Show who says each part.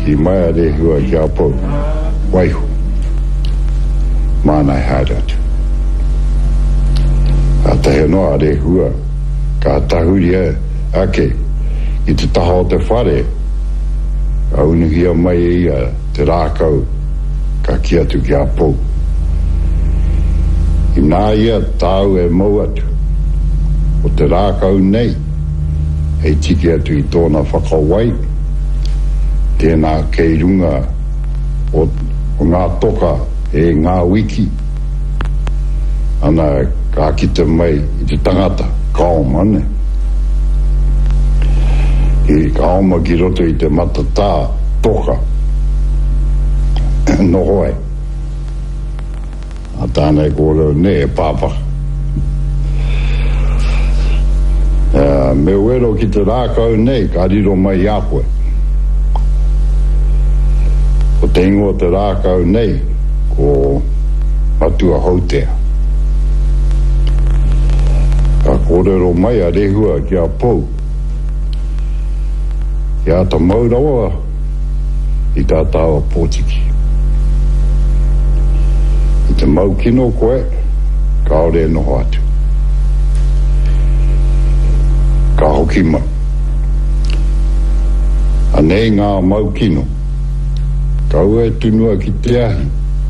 Speaker 1: Kī mai a Rehua ki a Pou, Waiho, māna e haere atu. Kātahi anō a Rehua ka tahuri ake ki te taha o te whare, ka unuhia mai e ia te rākau ka kī atu ki a Pou, Inā ia tāu e mau atu, ko te rākau nei hei tiki atu i tōna whakawai, tēnā kei runga o ngā toka e ngā wiki, ana ka kite mai i te tangata, ka oma, nē. Ka oma ki roto i te matatā toka, noho ai. A tāna e kōrero nei, e pāpaka. Me wero ki te rākau nei, ka riro mai i a koe. Ko te ingoa o te rākau nei, ko Matua Houtea. Ka kōrero mai a Rehua ki a Pou, He āta mau rawa i tā tāua pōtiki. I te mau kino koe, kāore e noho atu. Ka hoki mai. Anei ngā mau kino. Kaua e tunua ki te ahi.